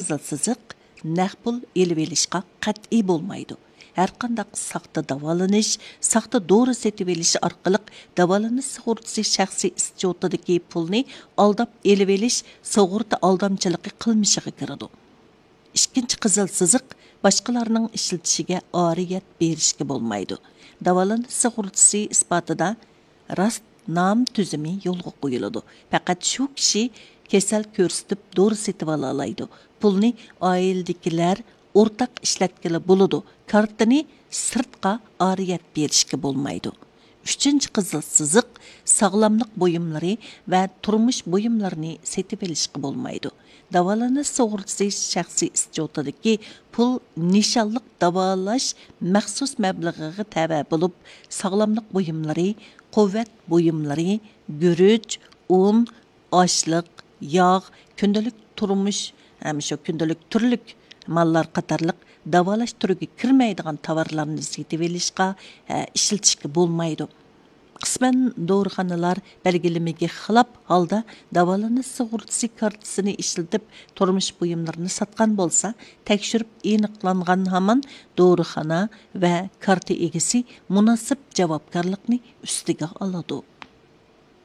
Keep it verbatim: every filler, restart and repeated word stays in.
قىزىل سىزىق، نەق پۇل ئېلىۋېلىشقا قەتئىي بولمايدۇ. ھەرقانداق ساختا داۋالىنىش، ساختا دورا سېتىۋېلىش ئارقىلىق داۋالىنىش سۇغۇرتىسى شەخسىي ئىسچوتىدىكى پۇلنى ئالداپ ئېلىۋېلىش سۇغۇرتا ئالدامچىلىقى قىلمىشىغا كىرىدۇ. ئىككىنچى قىزىل سىزىق، باشقىلارنىڭ ئىشلىتىشىگە ئارىيەت بېرىشكە بولمايدۇ. داۋالىنىش سۇغۇرتىسى ئىسپاتىدا راست نام تۈزۈمى يولغا قويۇلىدۇ. پەقەت شۇ كىشى كېسەل كۆرسىتىپ دورا سېتىۋالالايدۇ. پۇلنى ئائىلىدىكىلەر ئورتاق ئىشلەتكىلى بولىدۇ. كارتىنى سىرتقا ئارىيەت بېرىشكە بولمايدۇ. ئۈچىنچى قىزىل سىزىق، ساغلاملىق بۇيۇملىرى ۋە تۇرمۇش بۇيۇملىرىنى سېتىۋېلىشقا بولمايدۇ. داۋالىنىش سۇغۇرتىسى شەخسىي ئىسچوتىدىكى پۇل نىشانلىق داۋالاش مەخسۇس مەبلىغىگە تەۋە بولۇپ، ساغلاملىق بۇيۇملىرى، قۇۋۋەت بۇيۇملىرى، گۈرۈچ، ئۇن، ئاشلىق، ياغ، كۈندىلىك تۇرمۇش، ھەم شۇ كۈندىلىك تۈرلۈك ماللار قاتارلىق داۋالاش تۈرىگە كىرمەيدىغان تاۋارلارنى سېتىۋېلىشقا، ھە، ئىشلىتىشكە بولمايدۇ. قىسمەن دورىخانىلار بەلگىلىمىگە خىلاپ ھالدا داۋالىنىش سۇغۇرتىسى كارتىسىنى ئىشلىتىپ، تۇرمۇش بۇيۇملىرىنى ساتقان بولسا، تەكشۈرۈپ ئېنىقلانغان ھامان دورىخانا ۋە كارتا ئىگىسى مۇناسىپ جاۋابكارلىقنى ئۈستىگە ئالىدۇ.